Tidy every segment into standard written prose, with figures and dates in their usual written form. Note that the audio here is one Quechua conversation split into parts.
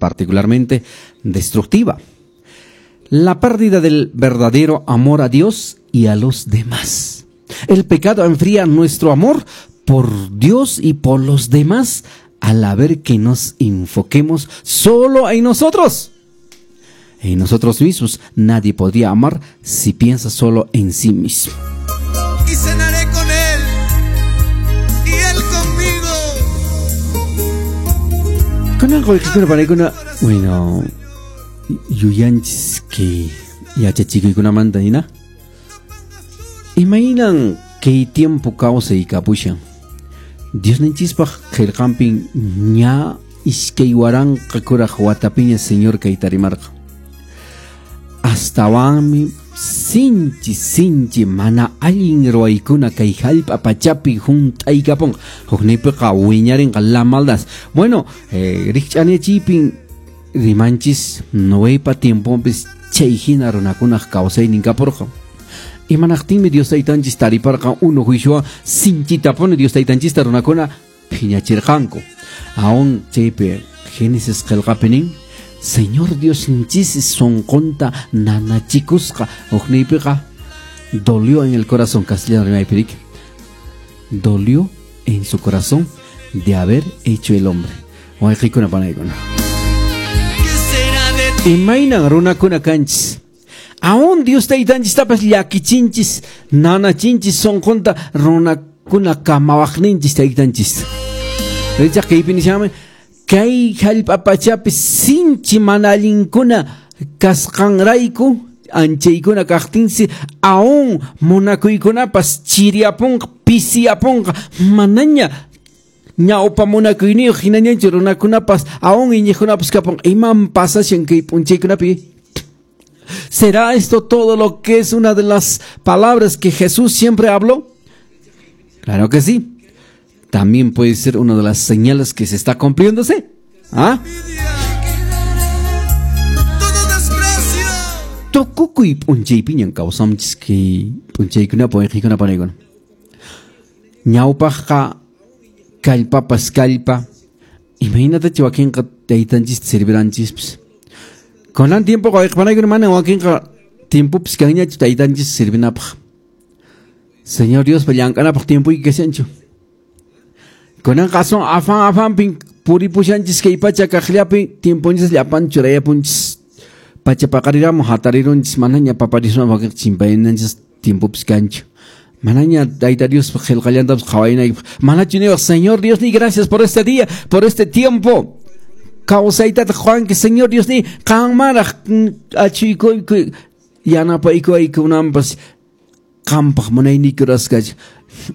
particularmente destructiva. La pérdida del verdadero amor a Dios y a los demás. El pecado enfría nuestro amor por Dios y por los demás al ver que nos enfoquemos solo en nosotros. En nosotros mismos nadie podría amar si piensa solo en sí mismo. Y cenaré con él y él conmigo. Con algo que bueno, yuyanchis kay yachachikuykunamanta hina. Imaynan kay tiempo kawsay kapushan. Diosninchispaq qillqanpin ña 2000 kuraq watapiña Señor kayta rimarqa. Astawanmi sinchi sinchi mana allin ruwaykuna kay hallp'a pachapi hunt'aykapunqa. Hukniypiqa wiñarinqa la maldad. Bueno, rikch'aniyachiypin rimanchis Noepa tiemponpis chay hina runakunaq kawsaynin kapurqa. Imanaqtinmi Dios taytanchis tariparqa unu juiciowan sinchitapuni Dios taytanchista runakuna phiñachirqanku. Aún chaypi Génesis qillqapi nin, Señor Diosninchis sunqunta nanachikusqa. Hukniypiqa dolió en el corazón, castellano rimaypi riki. Dolió en su corazón de haber hecho el hombre. Wayqikuna panaykuna. ¿Qué será de ti? Imaynan runakuna kanchis. Aún Dios taytanchistapas llakichinchis, nanachinchis sunqunta runakuna kamawaqninchis taytanchis. Richaq kaypi nishanmi, kay hallp'a pachapi sinchi mana allinkuna kasqanrayku anchaykuna kaqtinsi aún munakuykunapas chiriyapunqa, pisiyapunqa, manaña ñawpa munakuyniyuq hinañanchu runakunapas aún iñiqkunapas kapunqa. Iman pasashan kay p'unchaykunapi? ¿Será esto todo lo que es una de las palabras que Jesús siempre habló? Claro que sí. También puede ser una de las señales que se está cumpliéndose. ¿Ah? Todo desprecio. Tukukuy p'unchaypiñan kawsanchis kay p'unchaykunapi wayqikuna panaykuna. Ñawpaqqa kallpapas kallpa. Imaynatachu wakinqa taytanchista sirviranchispis. Kunan tiempoqa wayqi panaykuna mana wakinqa tiempopis kanñachu taytanchista sirvinapaq. Señor Diospa llank'anapaq tiempoyki kashanchu. Kunanqa aswan afan afanpin puripushanchis kay pacha kaqllapi tiemponchis llapan churayapunchis. Pacha paqariramun hatarirunchis manaña papariswan wakinqa chimpayananchis tiempopis kanchu. Manaña tayta Diospa qillqallantapas qhawaynaykipaq. Manachu niwaq, Señor Dios ni gracias por este día, por este tiempo. Kawsaytataq quwanki, Señor Dios ni qanmaraq achuykuyku yanapaykuwaykunanpas qampaq munayniyki rurasqachu.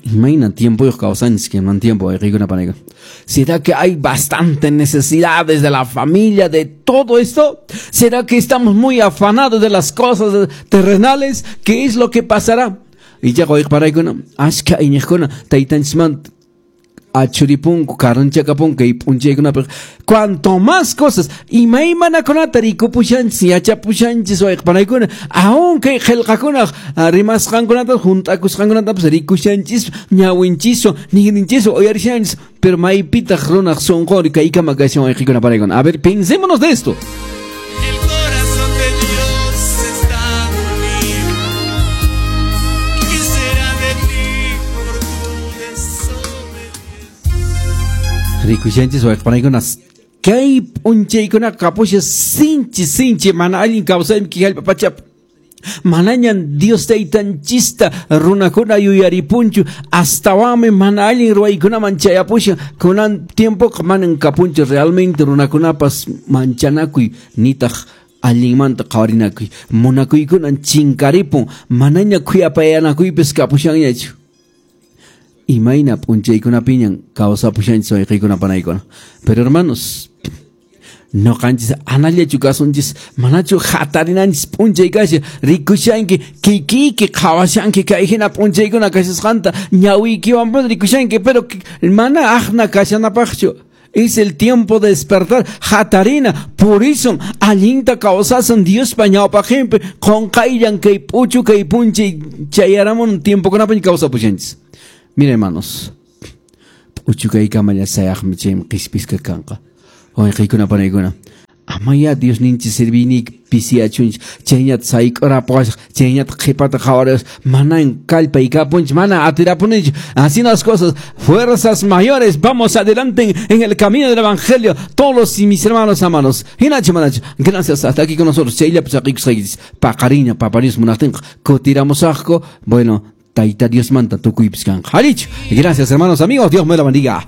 Imayna tiempoyuq kawsanchis kayman tiempo wayqiykuna panaykuna. ¿Será que hay bastante necesidades de la familia, de todo esto? ¿Será que estamos muy afanados de las cosas terrenales? ¿Qué es lo que pasará? Ichaqa wayqiparaykuna, ashka iñiqkuna taytanchisman achuripunku, karunchakapunku kay p'unchaykunapiq. Cuanto más cosas, imaymanakunata rikupushanchis, yachapushanchis wayqipanaykuna, aún kay qillqakunaq rimasqankunata, hunt'akusqankunatapas rikushanchis, ñawinchiswan, ninrinchiswan uyarishanchis, pero maypitaq runaq sunqunri kaykama kashan wayqikuna panaykuna. A ver, pensémonos de esto. El corazón de Dios está dolido. ¿Qué será de ti por tu desobediencia? Rikushanchis wayqipanaykuna, kay p'unchaykuna kapusha sinchi sinchi mana allin kawsaymi kay hallp'a pachapi. Manañan Dios taytanchista runakuna yuyaripunchu, astawanmi mana allin ruwaykunaman chayapushan. Kunan tiempoqa manan kapunchu realmente runakunapas manchanakuy nitaq allinmanta qhawarinakuy. Munakuykunan chinkaripun, manaña khuyapayanakuypis kapushanñachu. Imayna p'unchaykunapiñan kawsapushanchis wayqiykuna panaykuna. Pero hermanos, noqanchis anallachu kasunchis, manachu hatarinanchis p'unchay kashan, rikushanki kikiyki qhawashanki kay hina p'unchaykuna kashasqanta, ñawiykiwanpuni rikushanki, pero mana aqna kashanapaqchu. Es el tiempo de despertar. Hatarina, purisun, allinta kawsasun Diospa ñawpaqinpi, qunqayllan kay p'uchu kay p'unchay chayaramun tiempokunapiña kawsapushanchis. Mira, hermanos, p'uchu kaykamalla sayaqmi chaymi qhispisqa kanqa. Wayqiykuna panaykuna, Amaya Diosninchis serviynik pisiyachunchis, chayñata sayk'urapuwasaq, chayñata qhipata qhawariwas, manan kallpay kapunchis, mana atirapunich. Así las cosas, fuerzas mayores, vamos adelante en el camino del evangelio, todos mis hermanos amados. Hinachu manachu, gracias, hasta aquí con nosotros. Chayllapi saqikusqaykichis, paqariña Papa Dios munaqtinqa kutiramusaqku. Bueno, Tayta Diosmanta tukuypis kanqa. Harichu. Gracias, hermanos, amigos, Dios me la bendiga.